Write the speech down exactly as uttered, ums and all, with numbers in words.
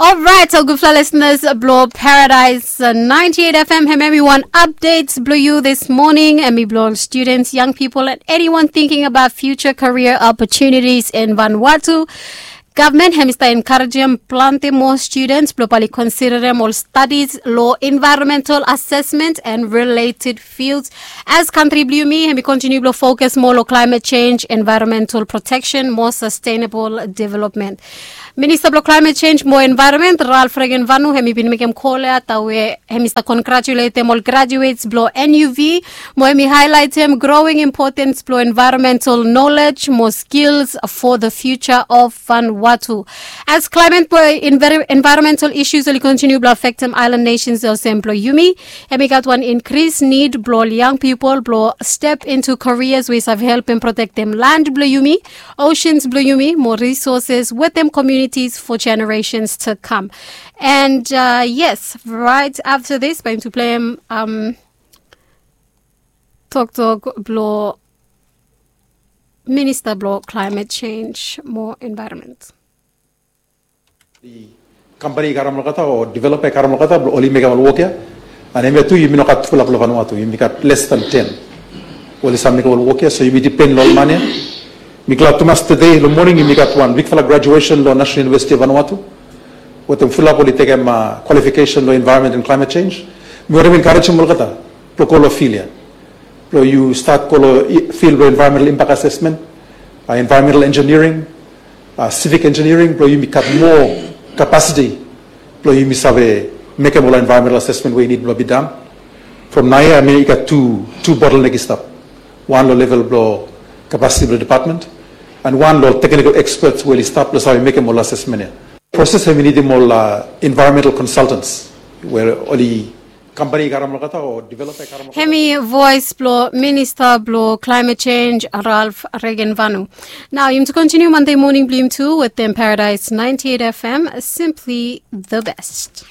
Alright, so gudfala listeners blong Paradise uh, ninety-eight F M, hem hemi wan update blong yu this morning, hemi blong students, young people, and anyone thinking about future career opportunities in Vanuatu. Gavman hemi stap encouragem planti moa students blong bae oli considerem ol studies long environmental assessment and related fields. As kantri blong yumi hemi continue blong focus moa long climate change, environmental protection, more sustainable development. Minista blong climate change mo environment, Ralph Regenvanu, hemi bin mekem kol ya tawe hemi stap congratulatem ol graduates blong N U V, mo hemi highlightem growing importance blong environmental knowledge mo skills for the future of Vanuatu. As climate mo envir- environmental issues oli continue blong affectem island nations olsem blong yumi, hemi gat wan increase need blong ol young people blong step into careers we save helpem protektem land blong yumi, oceans blong yumi, mo resources wetem communities for generations to come. And uh, yes, right after this, bae yumi tu pleim um, toktok blong minista blong climate change mo environment. Kampani i karem olgeta o developa i karem olgeta blong oli mekem ol wok ya. And hemia tu yumi no gat fulap long Vanuatu, yumi gat less than ten we oli save mekem ol wok ya, so yumi dipen long ol man ya. Mi glad tumas tede long moning yumi gat wan bigfala graduation long National University of Vanuatu wetem fulap oli tekem uh, qualification long environment and climate change. Mi wantem encouragem olgeta blong go long field ya, blong yu stat go long field blong environmental impact assessment, uh, environmental engineering, uh, civic engineering, blong yumi gat moa capacity blong yumi save mekem ol environmental assessment we i nid blong be done. From naoia, I mean, i gat tu tu bottleneck i stap. Wan long level blong capacity blong department, and wan long technical experts we oli stap blong save mekem ol assessment ya. Process hemi nidim ol uh, environmental consultants we oli kampani i karem olgeta o developa i karem olgeta. Hemi voice blong minista blong climate change, Ralph Regenvanu. Nao yumi tu continue Monday morning blong yumi tu wetem Paradise ninety-eight F M, simply the best.